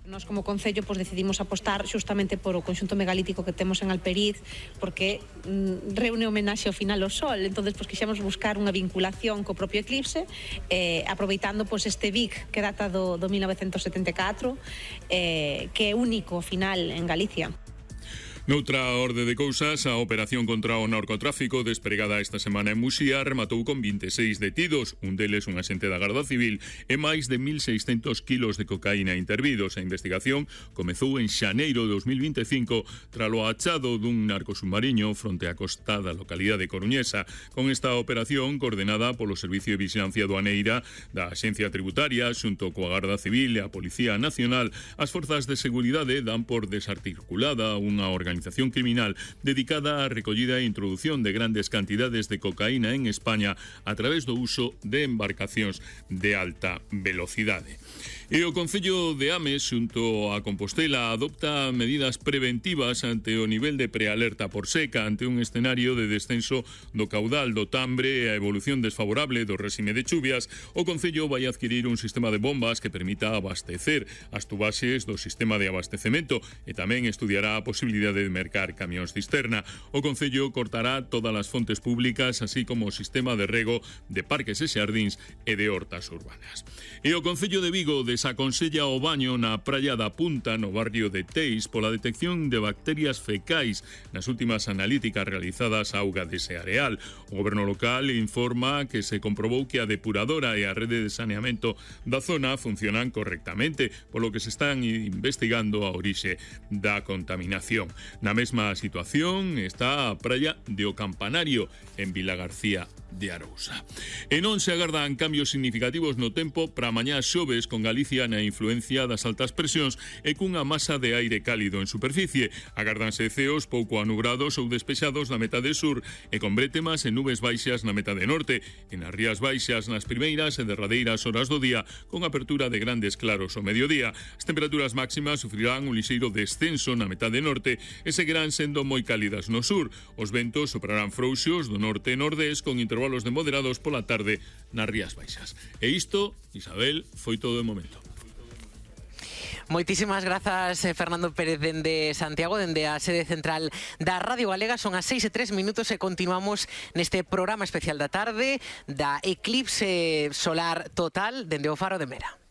Nós como Concello decidimos apostar xustamente por o conxunto megalítico que temos en Alperiz, porque reúne homenaxe ao final ao Sol. Entón, quixemos buscar unha vinculación co propio eclipse, aproveitando este Vic que data do 1974, que é único ao final en Galicia. Noutra orde de cousas, a operación contra o narcotráfico despregada esta semana en Muxía rematou con 26 detidos, un deles un axente da Garda Civil e máis de 1.600 kilos de cocaína intervidos. A investigación comezou en xaneiro de 2025 tralo achado dun narcosubmarino fronte á costa da localidade coruñesa. Con esta operación, coordenada polo Servicio de Vigilancia Aduaneira da Axencia Tributaria, xunto coa Garda Civil e a Policía Nacional, as forzas de seguridade dan por desarticulada unha organización criminal dedicada á recollida e introdución de grandes cantidades de cocaína en España a través do uso de embarcacións de alta velocidade. E o Concello de Ames, xunto a Compostela, adopta medidas preventivas ante o nivel de prealerta por seca, ante un escenario de descenso do caudal do Tambre e a evolución desfavorable do réxime de chuvias. O Concello vai adquirir un sistema de bombas que permita abastecer as tubaxes do sistema de abastecemento e tamén estudiará a posibilidade de mercar camións cisterna. O Concello cortará todas as fontes públicas, así como o sistema de rego de parques e xardíns e de hortas urbanas. E o Concello de Vigo desaconsella o baño na praia da Punta, no barrio de Teis, pola detección de bacterias fecais nas últimas analíticas realizadas á auga dese areal. O goberno local informa que se comprobou que a depuradora e a rede de saneamento da zona funcionan correctamente, polo que se están investigando a orixe da contaminación. Na mesma situación está a praia de O Campanario, en Vilagarcía de Arousa. E non se agardan cambios significativos no tempo para mañá xoves, con Galicia na influencia das altas presións e cunha masa de aire cálido en superficie. Agárdanse ceos pouco anubrados ou despexados na metade sur e con brétemas e nubes baixas na metade norte, e nas rías baixas nas primeiras e derradeiras horas do día, con apertura de grandes claros ao mediodía. As temperaturas máximas sufrirán un lixeiro descenso na metade norte e seguirán sendo moi cálidas no sur. Os ventos soprarán frouxos do norte e nordés con intervalos de moderados pola tarde nas rías baixas. E isto, Isabel, foi todo de momento. Moitísimas grazas, Fernando Pérez, dende Santiago, dende a sede central da Radio Galega. Son as 6:03 e continuamos neste programa especial da tarde da eclipse solar total dende o Faro de Mera.